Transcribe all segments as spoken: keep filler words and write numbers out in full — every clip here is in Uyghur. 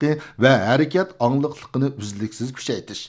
ۋە ھەرىكەت ئاڭلىقلىقىنى ئۈزلۈكسىز كۈچەيتىش،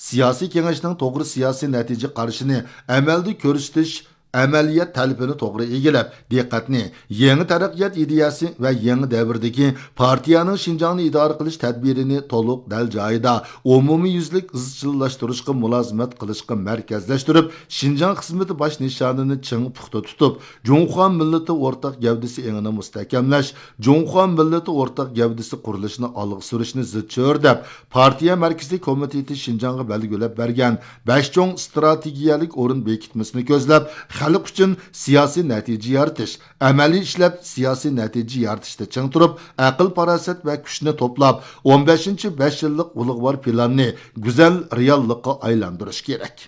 سىياسىي كېڭەشنىڭ توغرا سىياسىي نەتىجە قارىشىنى ئەمەلدە كۆرسىتىش، ئەمەلىيەت تەلىپىنى توغرا ئىگىلەپ، دىققەتنى يېڭى تەرەققىيات ئىدىيەسى ۋە يېڭى دەۋردىكى پارتىيەنىڭ شىنجاڭنى ئىدارە قىلىش تەدبىرىنى تولۇق دەل جايىدا، ئومۇميۈزلۈك ئىزچىللاشتۇرۇشقا مۇلازىمەت قىلىشقا مەركەزلەشتۈرۈپ، شىنجاڭ خىزمىتى باش نىشانىنى چىڭ پۇختا تۇتۇپ، جۇڭخۇا مىللىتى ئورتاق گەۋدىسى ئېڭىنى مۇستەھكەملەش، جۇڭخۇا مىللىتى ئورتاق گەۋدىسى قۇرۇلۇشىنى ئالغا سۈرۈشنى زىچ چۆرىدەپ، پارتىيە مەركىزىي كومىتېتى شىنجاڭغا بەلگىلەپ بەرگەن بەش چوڭ ئىستراتېگىيەلىك ئورۇن بېكىتمىسىنى كۆزلەپ، خەلق ئۈچۈن سىياسىي نەتىجە يارىتىش، ئەمەلىي ئىشلەپ سىياسىي نەتىجە يارىتىشتا چىڭ تۇرۇپ، ئەقىل-پاراسەت ۋە كۈچنى توپلاپ، ئون بەشىنچى بەش يىللىق ئۇلۇغۋار پىلاننى گۈزەل رېئاللىققا ئايلاندۇرۇش كېرەك.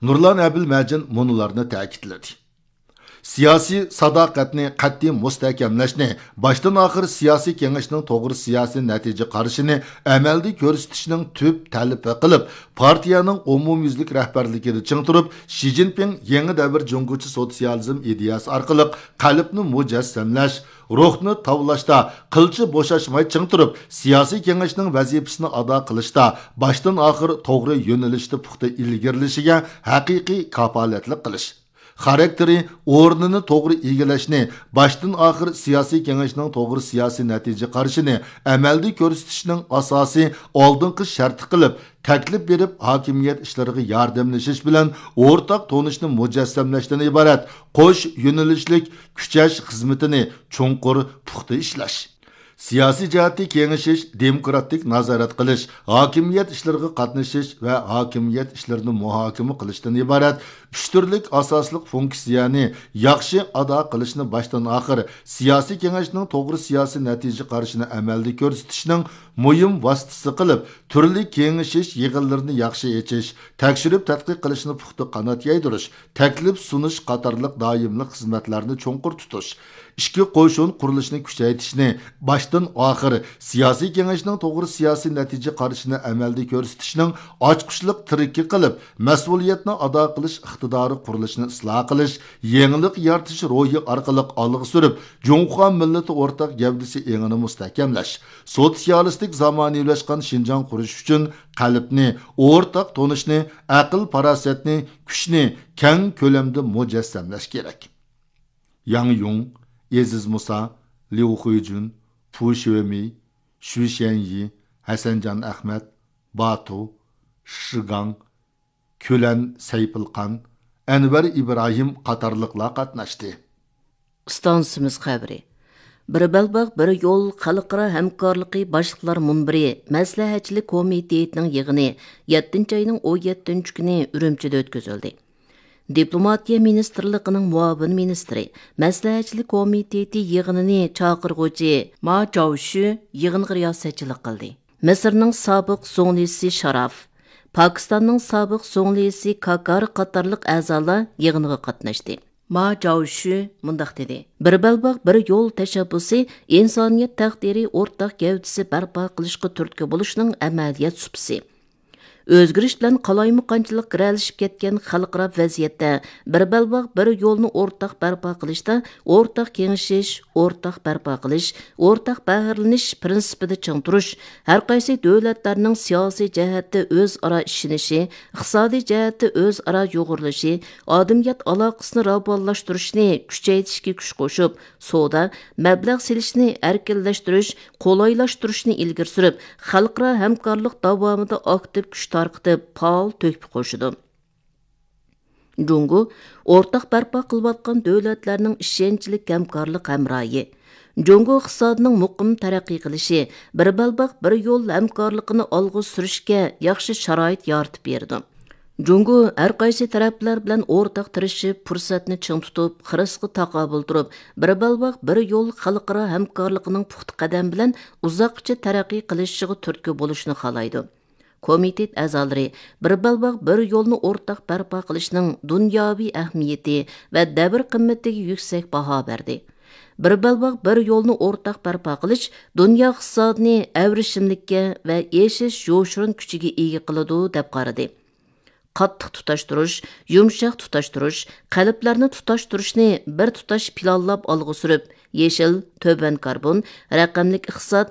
نۇرلان ئەبىلمەجىن مۇنۇلارنى تەكىتلىدى. سىياسىي ساداقەتنى قەتئىي مۇستەھكەملەشنى، باشتىن ئاخىر سىياسىي كېڭەشنىڭ توغرا سىياسىي نەتىجە قارىشىنى ئەمەلدە كۆرسىتىشنىڭ تۈپ تەلىپى قىلىپ، پارتىيەنىڭ ئومۇميۈزلۈك رەھبەرلىكىدە چىڭ تۇرۇپ، شى جىنپىڭ يېڭى دەۋر جۇڭگوچە سوتسىيالىزم ئىدىيەسى ئارقىلىق قەلبنى مۇجەسسەملەش، روھنى تاۋلاشتا قىلچە بوشاشماي چىڭ تۇرۇپ، سىياسىي كېڭەشنىڭ ۋەزىپىسىنى ئادا قىلىشتا باشتىن ئاخىر توغرا يۆنىلىشتە پۇختا ئىلگىرىلىشىگە ھەقىقىي كاپالەتلىك قىلىش. خاراكتېرى، ئورنىنى توغرا ئىگىلەشنى، باشتىن ئاخىر سىياسىي كېڭەشنىڭ توغرا سىياسىي نەتىجە قارىشىنى ئەمەلدە كۆرسىتىشنىڭ ئاساسىي ئالدىنقى شەرتى قىلىپ، تەكلىپ بېرىپ، ھاكىمىيەت ئىشلىرىغا ياردەملىشىش بىلەن ئورتاق تونۇشنى مۇجەسسەملەشتىن ئىبارەت قوش يۆنىلىشلىك كۈچەش خىزمىتىنى چوڭقۇر پۇختا ئىشلەش. سىياسىي جەھەتتە كېڭىشىش، دېموكراتىك نازارەت قىلىش، ھاكىمىيەت ئىشلىرىغا قاتنىشىش ۋە ھاكىمىيەت ئىشلىرىنى مۇھاكىمە قىلىشتىن ئىبارەت ئۈچ تۈرلۈك ئاساسلىق فۇنكسىيەنى ياخشى ئادا قىلىشنى باشتىن ئاخىر سىياسىي كېڭەشنىڭ توغرا سىياسىي نەتىجە قارىشىنى ئەمەلدە كۆرسىتىشنىڭ مۇھىم ۋاسىتىسى قىلىپ، تۈرلۈك كېڭىشىش يىغىنلىرىنى ياخشى ئېچىش، تەكشۈرۈپ تەتقىق قىلىشنى پۇختا قانات يايدۇرۇش، تەكلىپ سۇنۇش قاتارلىق دائىملىق خىزمەتلەرنى چوڭقۇر تۇتۇش، ئىچكى قوشۇن قۇرۇلۇشىنى كۈچەيتىشنى، باشتىن ئاخىر سىياسىي كېڭەشنىڭ توغرا سىياسىي نەتىجە قارىشىنى ئەمەلدە كۆرسىتىشنىڭ ئاچقۇچلۇق تىرىكى قىلىپ، مەسئۇلىيەتنى ئادا قىلىش ئىقتىدارى قۇرۇلۇشىنى ئىسلاھ قىلىش، يېڭىلىق يارىتىش روھى ئارقىلىق ئالغا سۈرۈپ، جۇڭخۇا مىللىتى ئورتاق گەۋدىسى ئېڭىنى مۇستەھكەملەش، سوتسىيالىستىك زامانىۋىلاشقان شىنجاڭ قۇرۇش ئۈچۈن قەلبنى، ئورتاق تونۇشنى، ئەقىل-پاراسەتنى، كۈچنى كەڭ كۆلەمدە مۇجەسسەملەش كېرەك. ياڭ يۇڭ، ئېزىز مۇسا، ليۇ خۇيجۈن، پۇ شۆمېي، شۈ شيەنيى، ھەسەنجان ئەخمەت، باتۇ، شىگاڭ، كۈلەن سەيپىلقان، ئەنۋەر ئىبراھىم قاتارلىقلار قاتناشتى. ئىستانسىمىز خەۋىرى. بىر بەلباغ، بىر يول خەلقئارا ھەمكارلىقى باشلىقلار مۇنبىرى مەسلىھەتچىلىك كومىتېتىنىڭ يىغىنى يەتتىنچى ئاينىڭ ئون يەتتىنچى كۈنى ئۈرۈمچىدە ئۆتكۈزۈلدى. دىپلوماتىيە مىنىستىرلىقىنىڭ مۇئاۋىن مىنىستىرى، مەسلىھەتچىلىك كومىتېتى يىغىنىنى چاقىرغۇچى ما جاۋشۈ يىغىنغا رىياسەتچىلىك قىلدى. مىسىرنىڭ سابىق زۇڭلىسى شاراف، پاكىستاننىڭ سابىق زۇڭلىسى كاكار قاتارلىق ئەزالار يىغىنغا قاتناشتى. ما جاۋشۈ مۇنداق دېدى: بىر بەلباغ، بىر يول تەشەببۇسى ئىنسانىيەت تەقدىرى ئورتاق گەۋدىسى بەرپا قىلىشقا تۈرتكە بولۇشنىڭ ئەمەلىيەت سۇپىسى. ئۆزگىرىش بىلەن قالايمىقانچىلىق گىرەلىشىپ كەتكەن خەلقئارا ۋەزىيەتتە بىر بەلباغ، بىر يولنى ئورتاق بەرپا قىلىشتا ئورتاق كېڭىشىش، ئورتاق بەرپا قىلىش، ئورتاق بەھرىلىنىش پىرىنسىپىدا چىڭ تۇرۇش، ھەرقايسى دۆلەتلەرنىڭ سىياسىي جەھەتتە ئۆزئارا ئىشىنىشى، ئىقتىسادىي جەھەتتە ئۆزئارا يۇغۇرۇلۇشى، ئادەمىيەت ئالاقىسىنى راۋانلاشتۇرۇشنى كۈچەيتىشكە كۈچ قوشۇپ، سودا، مەبلەغ سېلىشنى ئەركىنلەشتۈرۈش، قولايلاشتۇرۇشنى ئىلگىرى سۈرۈپ، خەلقئارا ھەمكارلىق داۋامىدا ئاكتىپ كۈچ تارقىتىپ، پائال تۆھپە قوشىدۇ. جۇڭگو ئورتاق بەرپا قىلىۋاتقان دۆلەتلەرنىڭ ئىشەنچلىك ھەمكارلىق ھەمراھى. جۇڭگو ئىقتىسادىنىڭ مۇقىم تەرەققىي قىلىشى، بىر بەلباغ، بىر يول ھەمكارلىقىنى ئالغا سۈرۈشكە ياخشى شارائىت يارىتىپ بېرىدۇ. جۇڭگو ھەر قايسى تەرەپلەر بىلەن ئورتاق تىرىشىپ، پۇرسەتنى چىڭ تۇتۇپ، خىرىسقا تاقابىل تۇرۇپ، بىر بەلباغ، بىر يول خەلقئارا ھەمكارلىقىنىڭ پۇختا قەدەم بىلەن ئۇزاققىچە تەرەققىي قىلىشىغا تۈرتكە بولۇشنى خالايدۇ. كومىتېت ئەزالىرى بىر بەلباغ، بىر يولنى ئورتاق بەرپا قىلىشنىڭ دۇنياۋى ئەھمىيىتى ۋە دەۋر قىممىتىگە يۈكسەك باھا بەردى. بىر بەلباغ، بىر يولنى ئورتاق بەرپا قىلىش دۇنيا ئىقتىسادىنى ئەۋرىشىملىككە ۋە ئېشىش يوشۇرۇن كۈچىگە ئىگە قىلىدۇ، دەپ قارىدى. قاتتىق تۇتاشتۇرۇش، يۇمشاق تۇتاشتۇرۇش، قەلبلەرنى تۇتاشتۇرۇشنى بىر تۇتاش پىلانلاپ ئالغا سۈرۈپ، يېشىل، تۆۋەن كاربون، رەقەملىك ئىقتىساد،